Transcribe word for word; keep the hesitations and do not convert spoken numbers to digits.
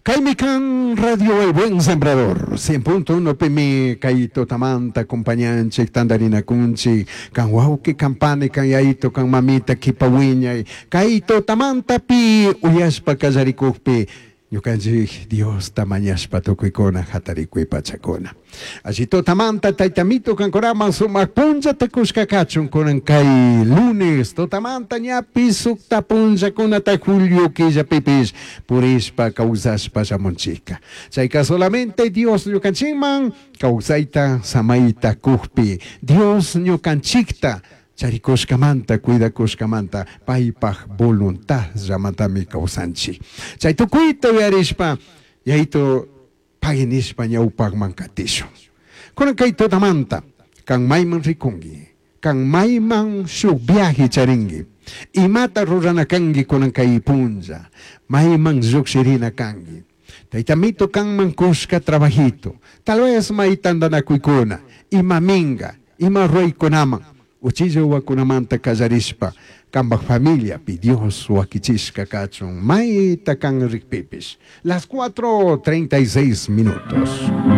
Kaymi kan Radio El Buen Sembrador, cien punto uno pimi kay tutamanta acompañanchik tandarinakunchik, kan wawqi, kan pani, kan yayito, kan mamita, kipa wiñay, kay tutamanta pi uyashpa kallarikukpi, ñukanchik Diosta mañashpa tukuykuna hatarikuy pachakuna. Allí tutamanta taytamito kankunaman sumak punllata kushka kachun kunan kay lunes tutamanta ñapi sukta punllakunata julio killapipis purishpa kawsashpa shamunchika. Chayka solamente Dios ñukanchikman kawsayta samayta kukpi, Dios ñukanchikta charikushkamanta, cuidakushkamanta, paypaj voluntad llamantami kawsanchik. Chay tukuyta uyarishpa, yaytu pagui nishpa ñawpakman katishun. Kunan kay tutamanta, kan mayman rikunki, kan mayman shuk viaje charinki, imata rurana kanki kunan kay punlla, mayman llukshirina kanki. Taytamito kanman kushka trabajito, tal vez may tantanakuykuna, ima minga, ima ruaykunaman, uchilla wakunamanta kallarishpa, kambaj familiapi Dios wakichishka kachun, mayta kan rikpipis. Las cuatro treinta y seis minutos.